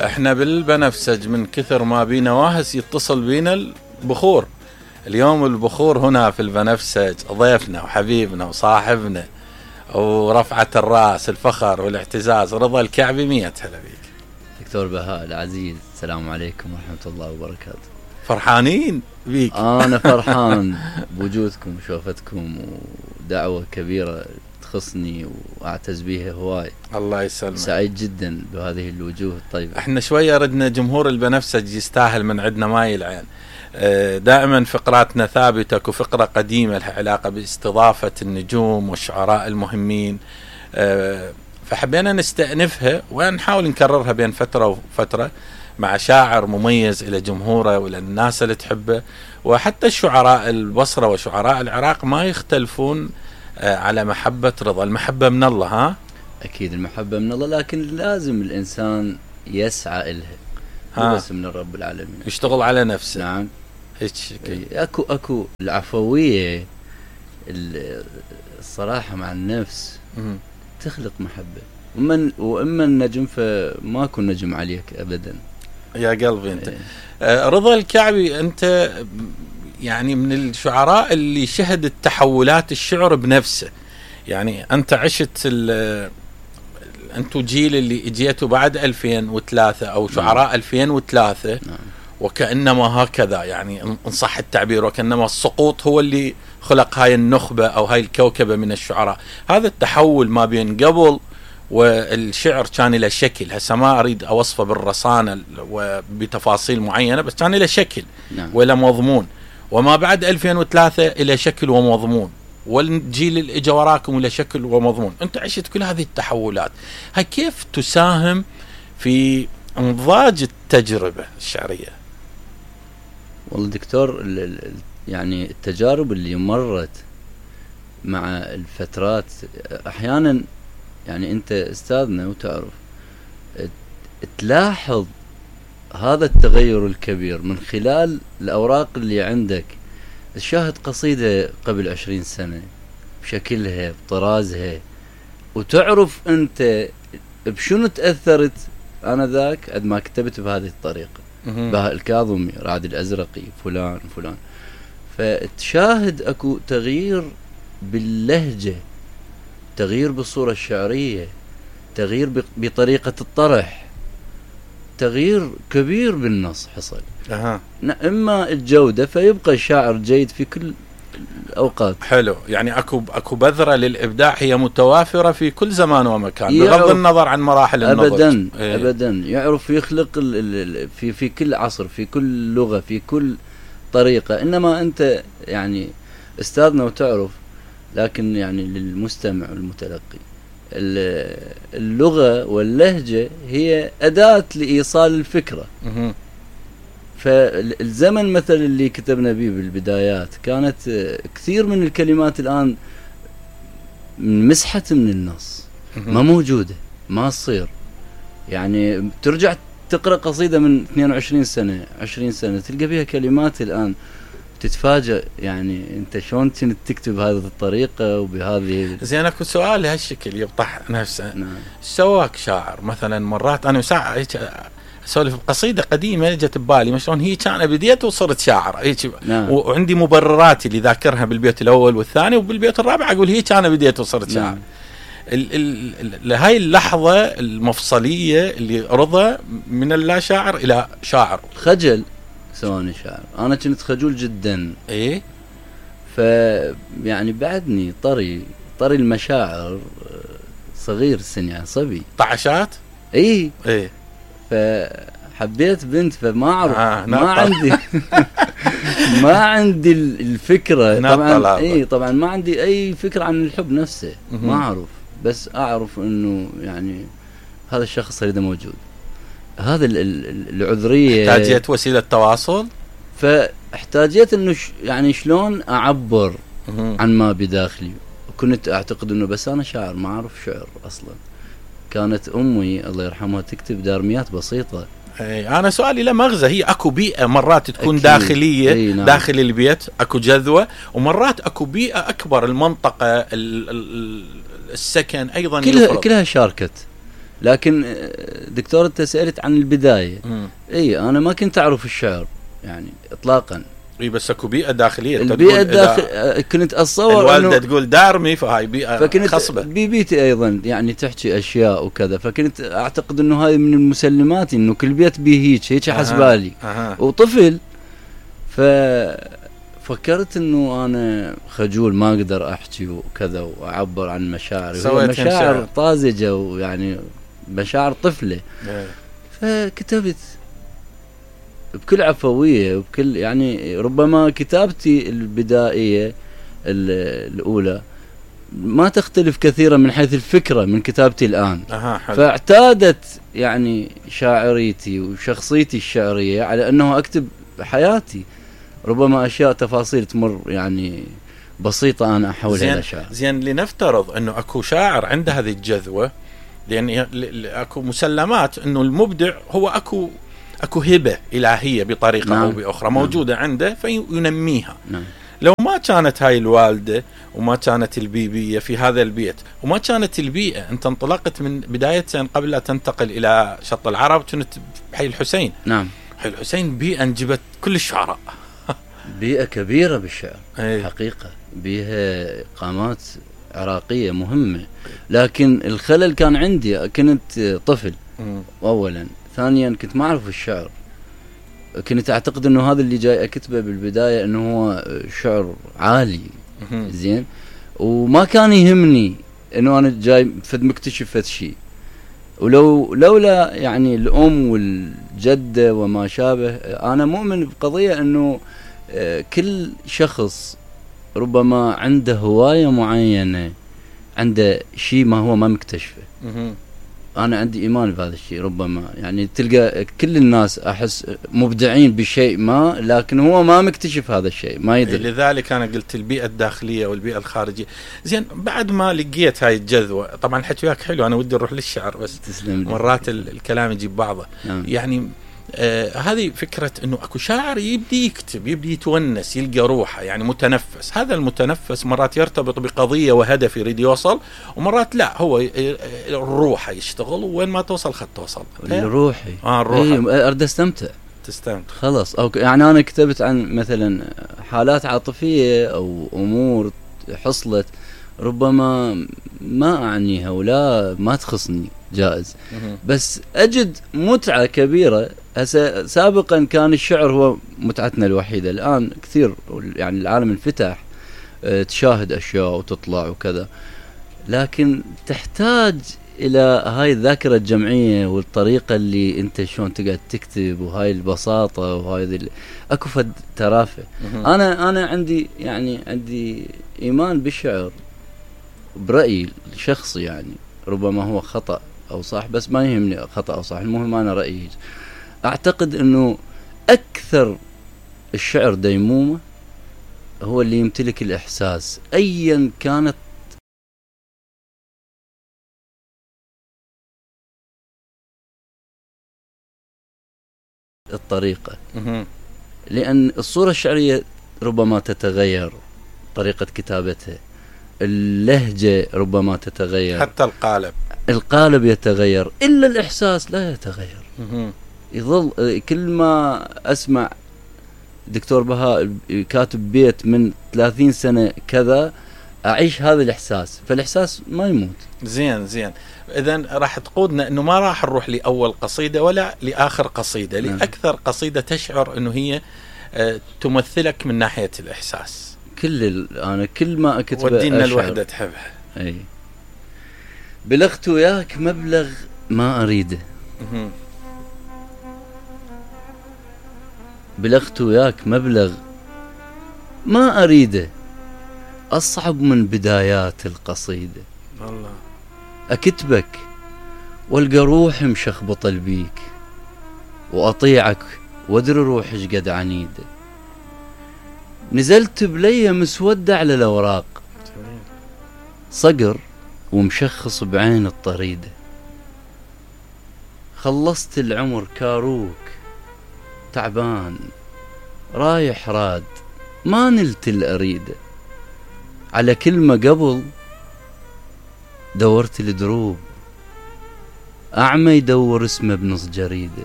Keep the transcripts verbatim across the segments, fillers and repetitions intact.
احنا بالبنفسج من كثر ما بينا واهس يتصل بينا البخور. اليوم البخور هنا في البنفسج ضيفنا وحبيبنا وصاحبنا ورفعة الراس الفخر والاعتزاز رضا الكعبي. مية هلا بيك دكتور بهاء العزيز، السلام عليكم ورحمة الله وبركاته. فرحانين بيك. أنا فرحان بوجودكم وشوفتكم، ودعوة كبيرة تخصني وأعتز بها هواي. الله يسلمك. سعيد جدا بهذه الوجوه الطيبة. احنا شوية ردنا جمهور البنفسج يستاهل من عندنا ماي العين. دائما فقراتنا ثابتة، وفقرة قديمة لها علاقة باستضافة النجوم والشعراء المهمين، فحبينا نستأنفها ونحاول نكررها بين فترة وفترة مع شاعر مميز إلى جمهوره وإلى الناس اللي تحبه. وحتى الشعراء البصرة وشعراء العراق ما يختلفون على محبة رضا. المحبة من الله. ها أكيد المحبة من الله، لكن لازم الإنسان يسعى إلها بس من الرب العالمين، يشتغل على نفسه. نعم هيك أكو أكو العفوية الصراحة مع النفس م- تخلق محبة. ومن وإما النجم فماكو نجم عليك أبدا يا قلبي أنت. آه رضا الكعبي أنت يعني من الشعراء اللي شهدت تحولات الشعر بنفسه. يعني أنت عشت أنتو جيل اللي اجيتوا بعد ألفين وثلاثة أو شعراء نعم. ألفين وثلاثة نعم. وكأنما هكذا يعني إن صح التعبير، وكأنما السقوط هو اللي خلق هاي النخبة أو هاي الكوكبة من الشعراء. هذا التحول ما بين قبل والشعر كان له شكل، هسه ما أريد أوصفه بالرصانة وبتفاصيل معينة، بس كان له شكل نعم. ولا مضمون. وما بعد ألفين وثلاثة إلى شكل ومضمون، والجيل اللي اجى وراكم إلى شكل ومضمون. أنت عشت كل هذه التحولات، هاي كيف تساهم في انضاج التجربة الشعرية؟ والله دكتور، يعني التجارب اللي مرت مع الفترات أحيانا، يعني أنت أستاذنا وتعرف تلاحظ هذا التغير الكبير من خلال الأوراق اللي عندك. تشاهد قصيدة قبل عشرين سنة بشكلها بطرازها، وتعرف أنت بشنو تأثرت أنا ذاك عندما ما كتبت بهذه الطريقة. بهاء الكاظمي، رعد الأزرقي، فلان فلان. فتشاهد أكو تغيير باللهجة، تغيير بالصورة الشعرية، تغيير بطريقة الطرح، تغيير كبير بالنص حصل. أها. إما الجودة فيبقى الشاعر جيد في كل الأوقات. حلو، يعني أكو أكو بذرة للإبداع هي متوافرة في كل زمان ومكان بغض النظر عن مراحل النضج. أبدا إيه. أبدا يعرف يخلق في في كل عصر، في كل لغة، في كل طريقة. إنما أنت يعني أستاذنا وتعرف، لكن يعني للمستمع والمتلقي اللغة واللهجة هي أداة لإيصال الفكرة. م- فالزمن مثل اللي كتبنا به بالبدايات كانت كثير من الكلمات الآن مسحت من النص، ما موجودة، ما تصير. يعني ترجع تقرأ قصيدة من اثنين وعشرين سنة عشرين سنة تلقى بها كلمات الآن تتفاجأ، يعني انت شلون كنت تكتب هذه الطريقة وبهذه. زين، اكو سؤال لهالشكل يبطح نفسه. نعم. سواك شاعر مثلا مرات انا ساعة اسولف بقصيدة قديمة جت ببالي ما شلون هي كان بديت وصرت شاعر هيك. نعم. وعندي مبرراتي اللي ذاكرها بالبيت الاول والثاني، وبالبيت الرابع اقول هي كان بديت وصرت شاعر. نعم. هاي اللحظة المفصلية اللي رضا من اللا شاعر الى شاعر. خجل سواني شاعر، انا كنت خجول جدا. ايه. ف يعني بعدني طري طري المشاعر، صغير السن يعني صبي طعشات. ايه ايه. فحبيت بنت، فما اعرف آه ما عندي ما عندي الفكرة طبعا. ايه طبعا ما عندي اي فكرة عن الحب نفسه، ما اعرف، بس اعرف انه يعني هذا الشخص هذا موجود. هذا العذرية احتاجيت وسيلة تواصل، فاحتاجيت انه ش يعني شلون اعبر عن ما بداخلي. وكنت اعتقد انه بس انا شاعر، ما اعرف شعر اصلا. كانت امي الله يرحمها تكتب دارميات بسيطة. اي انا سؤالي له مغزى. هي اكو بيئة مرات تكون أكيد. داخلية. أي نعم. داخل البيت اكو جذوة، ومرات اكو بيئة اكبر، المنطقة السكن ايضا كلها, كلها شاركت. لكن دكتور انت سألت عن البداية. مم. اي انا ما كنت اعرف الشعر يعني اطلاقا. اي بس اكو بيئة داخلية. البيئة الداخل كنت اتصور الوالدة تقول دارمي فهاي بيئة فكنت خصبة. ببيتي ايضا يعني تحكي اشياء وكذا، فكنت اعتقد انه هاي من المسلمات انه كل بيت بيه هيك هيك حسبالي. أه. وطفل ففكرت انه انا خجول ما اقدر احكي وكذا واعبر عن مشاعري، مشاعر طازجة ويعني مشاعر طفلة. أه. فكتبت بكل عفوية وبكل يعني ربما كتابتي البدائية الأولى ما تختلف كثيرا من حيث الفكرة من كتابتي الآن. أها حلو. فاعتادت يعني شاعريتي وشخصيتي الشعرية على أنه أكتب حياتي، ربما أشياء تفاصيل تمر يعني بسيطة أنا أحولها إلى شعر. زين لنفترض أنه أكو شاعر عنده هذه الجذوة، لأن أكو مسلمات أنه المبدع هو أكو اكو هبه الهيه بطريقه نعم. او باخرى موجوده نعم. عنده فينميها. نعم. لو ما كانت هاي الوالده وما كانت البيبيه في هذا البيت وما كانت البيئه، انت انطلقت من بدايه قبل لا تنتقل الى شط العرب كنت بحي الحسين. نعم. حي الحسين بيئه انجبت كل الشعراء. بيئه كبيره بالشعر. أي. حقيقه بيها قامات عراقيه مهمه، لكن الخلل كان عندي كنت طفل. م. اولا، ثانيا كنت ما اعرف الشعر، كنت اعتقد انه هذا اللي جاي اكتبه بالبدايه انه هو شعر عالي. زين، وما كان يهمني انه انا جاي فد مكتشف فد شيء، ولو لولا يعني الام والجده وما شابه. انا مؤمن بقضيه انه كل شخص ربما عنده هوايه معينه، عنده شيء ما هو ما مكتشفه. أنا عندي إيمان بهذا الشيء. ربما يعني تلقى كل الناس أحس مبدعين بشيء ما، لكن هو ما مكتشف هذا الشيء، ما يدري. لذلك أنا قلت البيئة الداخلية والبيئة الخارجية. زين، بعد ما لقيت هاي الجذوة، طبعا الحكي وياك حلو، أنا ودي أروح للشعر بس تسلم. مرات الكلام يجيب بعضه. نعم. يعني آه هذه فكرة أنه أكو شاعر يبدي يكتب، يبدي يتونس، يلقى روحه، يعني متنفس. هذا المتنفس مرات يرتبط بقضية وهدف يريد يوصل، ومرات لا، هو الروح يشتغل وين ما توصل خد توصل. الروحي آه الروحي. أريد أستمتع. تستمتع. خلاص. أو يعني أنا كتبت عن مثلا حالات عاطفية أو أمور حصلت ربما ما أعنيها ولا ما تخصني، جائز. بس أجد متعة كبيرة. هسه سابقا كان الشعر هو متعتنا الوحيدة، الآن كثير يعني العالم انفتح، اه تشاهد أشياء وتطلع وكذا، لكن تحتاج إلى هاي الذاكرة الجمعية والطريقة اللي أنت شلون تقعد تكتب، وهاي البساطة وهاي ذي أكو فد ترافة. أنا أنا عندي يعني عندي إيمان بالشعر برأيي الشخصي، يعني ربما هو خطأ أو صح، بس ما يهمني خطأ أو صح، المهم أنا رأيي. أعتقد أنه أكثر الشعر ديمومة هو اللي يمتلك الإحساس أيا كانت الطريقة. لأن الصورة الشعرية ربما تتغير، طريقة كتابتها، اللهجة ربما تتغير، حتى القالب القالب يتغير، إلا الإحساس لا يتغير. يظل. كل ما أسمع دكتور بهاء كاتب بيت من ثلاثين سنة كذا، أعيش هذا الإحساس، فالإحساس ما يموت. زين زين. إذن راح تقودنا أنه ما راح نروح لأول قصيدة ولا لآخر قصيدة، لأكثر قصيدة تشعر أنه هي تمثلك من ناحية الإحساس. كل أنا كل ما أكتب ودينا الوحدة تحبها. أي. بلغت وياك مبلغ ما أريده، بلغت وياك مبلغ ما أريده، أصعب من بدايات القصيدة. الله. أكتبك والقى روحي مشخبط البيك، وأطيعك وادري روحي قد عنيدة، نزلت بلية مسودة على الأوراق، صقر ومشخص بعين الطريدة، خلصت العمر كاروك تعبان رايح راد، ما نلت الأريدة، على كلمة قبل دورت الدروب، أعمى يدور اسمه بنص جريدة،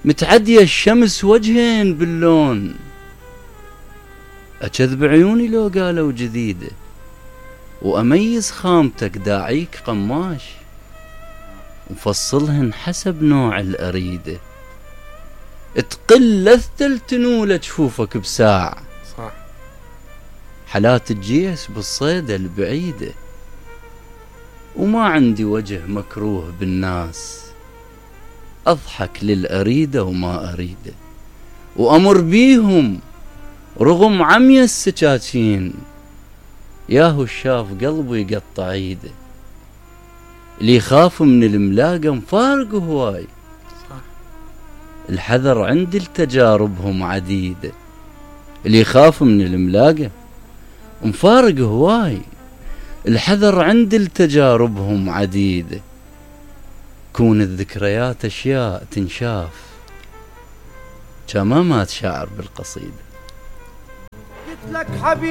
متعدية الشمس وجهين باللون، أكذب عيوني لو قالوا جديدة، وأميز خامتك داعيك قماش، وفصلهن حسب نوع الأريدة، تقل لثل تنول جفوفك بساع، صح. حالات الجيس بالصيدة البعيدة، وما عندي وجه مكروه بالناس، أضحك للأريدة وما أريده، وأمر بيهم رغم عمي السكاكين، ياهو الشاف قلبي يقطع ايده، اللي يخاف من الملاقة مفارق هواي، الحذر عندي لتجاربهم عديدة، اللي يخاف من الملاقة مفارق هواي، الحذر عندي لتجاربهم عديدة، كون الذكريات أشياء تنشاف، كما ما تشعر بالقصيدة.